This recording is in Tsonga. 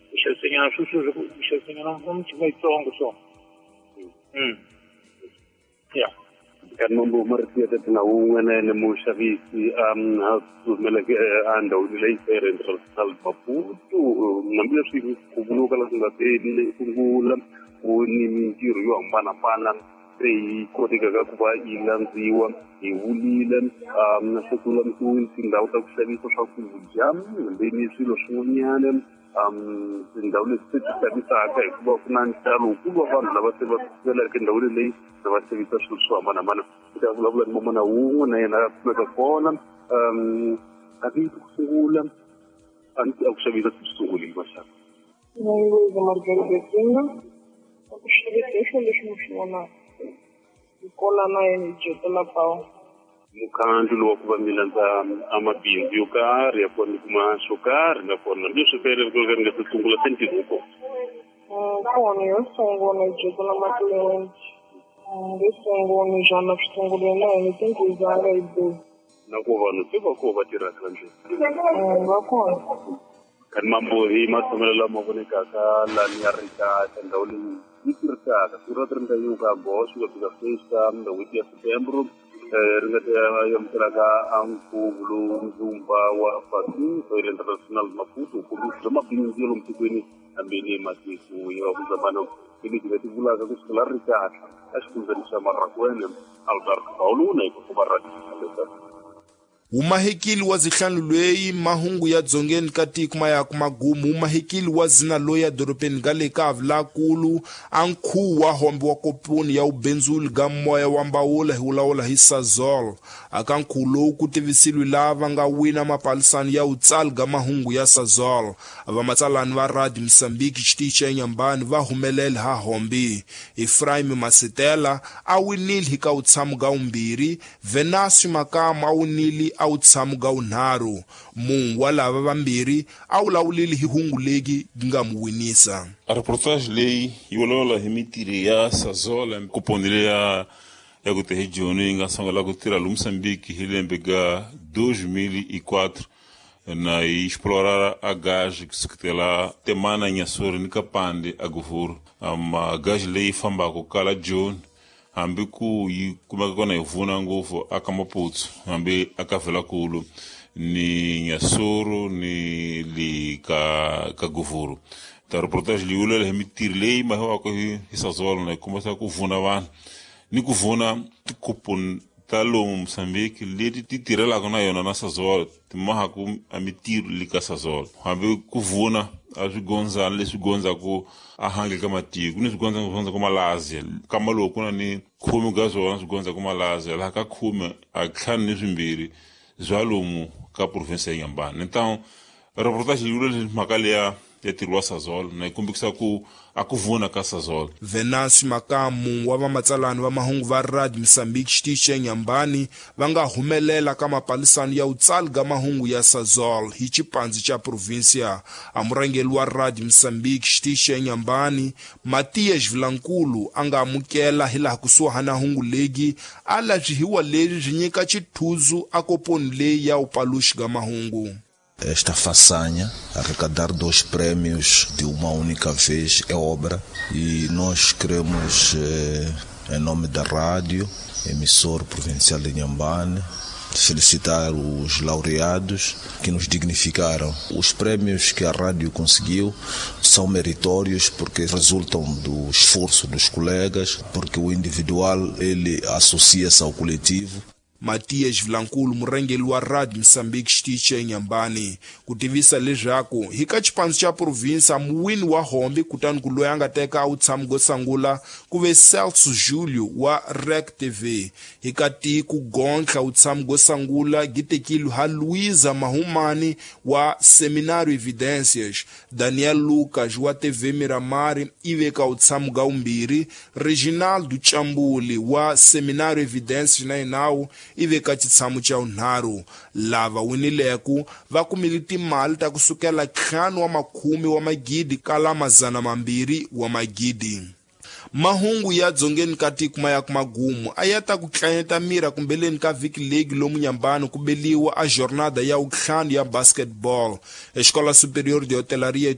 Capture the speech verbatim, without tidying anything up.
Ku xavisanyana sweswo ku xavisanyana michini yitsongo so mm ya Kanti mambo marito ya tete na wun'we na yena muxavisi a humeleke endhawini leyi Feira International Maputo, hambileswi ku vuriwaka leswi nga te sungula ku ni mintirho yo hambanahambana se yi kotekaka ku va yi landziwa hi vulile se ku lulamisiwile tindhawu ta ku xavisa swakudya hambi ni swilo swin'wanyana, um tindhawu leti se ti xavisaka hikuva ku na ntalo wukulu wa vanhu lava se va sukelaka endhawini leyi va xavisa swilo swo hambanahambana. Ku ta vulavula ni mamana wun'we na yena a kumeka kona um a vi ku sungula a ni a ku xavisa swi sungulile maxaka. Luiza Margarida Tinga, ku xavisa hi swilo leswi mi swi vonaka hi kona na yena hi dyetela pawu. Mukhandlu lowu wa ku va mi landza a mabindzu yo karhi ya kona ni kuma xo karhi nakona hambileswi fere ri ri nga se sungula se ntirho wu kona. Kona yo sungula hi dyetela matliliniki yo sungula njhani swi sungulile na hina tinghizanga hi busy. Na ku vanhu se va koho va tirhaka la ndlwini? Va kona. Kanti mambo hi matshamelo lama vonekaka lani ya ri kahle ndhawu leyi yi tirhisaka siku ra ti ri nga yiwuka goxo ku fika sweswi ka n'hweti ya September ri nga ta amukelaka a nkhuvo lowu ndzumba wa Fatin Feira International Maputo nkombiso bya mabindzu ya lomu tikweni hambi ni matiko ya vuzambano hi leti nga ti vulaka ku sukela ri kahle a xifundzeni xa Marrakwene Albert Paulo na hikuva radio. Umahekili wa zihlanu lweyi mahungu ya dzongeni ka tiko ma ya ku magumu. Umahekili wa zina loyi ya dorobeni ga le ka Avulakulu a nkhuwu wa hombe wa koponi ya ubenzuli ga moya wa mbawula hi wulawula hi Sasol. Aka nkhuwu lowu ku tivisiliwe lava nga wina mapalisani ya utsali ga mahungu ya Sasol. Vamatsalani va Radio Mozambique xitichi xa Inhambane va humelela ha hombe. Efraim Masetela a winile hi ka wutshamo ga wumbirhi, Venasio Makamo a winile a wutshamo ga wunharhu. Munhu wa lava vambirhi a wulawulile hi hungu legi nga mu winisa. A reportage leyi yi vulavula hi mintirho ya Sasol kuponi leya ya ku hi Joni yi nga sungula ku tirha lomu Mozambique hi lembe ga dois mil e quatro na yi explorar a gás kusukela Temana Inhassoro ni Kapande a Govuro. Ama gás leyi fambaka kala Joni hambi ku yi kumeka kona hi vuna ngopfu aka Maputo hambi aka Velakulu ni Inhassoro ni le ka ka Govuro. Ta reportage leyi vulavula hi mintirho leyi mahiwaka hi hi Sasol na yi kombisa ku vuna vanhu ni ku vuna tikuponi ta lomu Mozambique leti ti tirhelaka na yona na Sasol ti mahaku a mintirho le ka Sasol hambi ku vuna a swigondzana leswi gondzaku a handle ka matiko ni swigondzana swi gondzaku Malaysia kama lowu ku na ni khume ka swona swi gondzaku Malaysia laha ka khume a ntlhanu ni swimbirhi bya lomu ka province ya Inhambane. Então reportage yi vula leswi mhaka leya ya ntirho wa Sasol na yi kombisa ku a ku vuna ka Sasol. Venasio Makamu wa vamatsalani va mahungu va Radio Mozambique xitichi xa Inhambane va nga humelela ka mapalisano ya utsali ga mahungu ya Sasol hi xipandzi xa provincia. A murhangeri wa Radio Mozambique xitichi xa Inhambane Matias Vilankulu a nga amukela hilaha kusuhana hungu legi a lavyihiwa leswi byi nyika xithuzu a koponi leyi ya upaluxi ga mahungu. Esta façanha, arrecadar dois prêmios de uma única vez, é obra e nós queremos, eh, em nome da rádio, emissor provincial de Inhambane, felicitar os laureados que nos dignificaram. Os prêmios que a rádio conseguiu são meritórios porque resultam do esforço dos colegas, porque o individual ele associa-se ao coletivo. Matias Vilankulu murhangeri wa Radio Mozambique xitichi xa Inhambane ku tivisa leswaku hi ka xipandzu xa province muwini wa hombe kutani ku loyi a nga teka a wutshamo go sungula ku ve Celso Julio wa R E C T V. Hi ka tiko gontlha wutshamo go sungula gi tekile ha Luiza Mahumani wa Seminário Evidências, Daniel Lucas wa T V Miramar i ve ka wutshamo ga wumbirhi, Reginaldo Chambuli wa Seminário Evidências na yenawu i ve ka xitshamo xa wunharhu. Lava winileku va kumile timali ta kusukela ntlhanu wa makhume wa magidi kala mazana mambirhi wa magidi. Mahungu ya dzongeni ka tiko ma ya ku magumu a ya ta ku tlanyeta mira kumbeleni ka vhiki legi lomu Inhambane ku beliwa a jornada ya wuntlhanu ya basketball. Escola Superior de Hotelaria.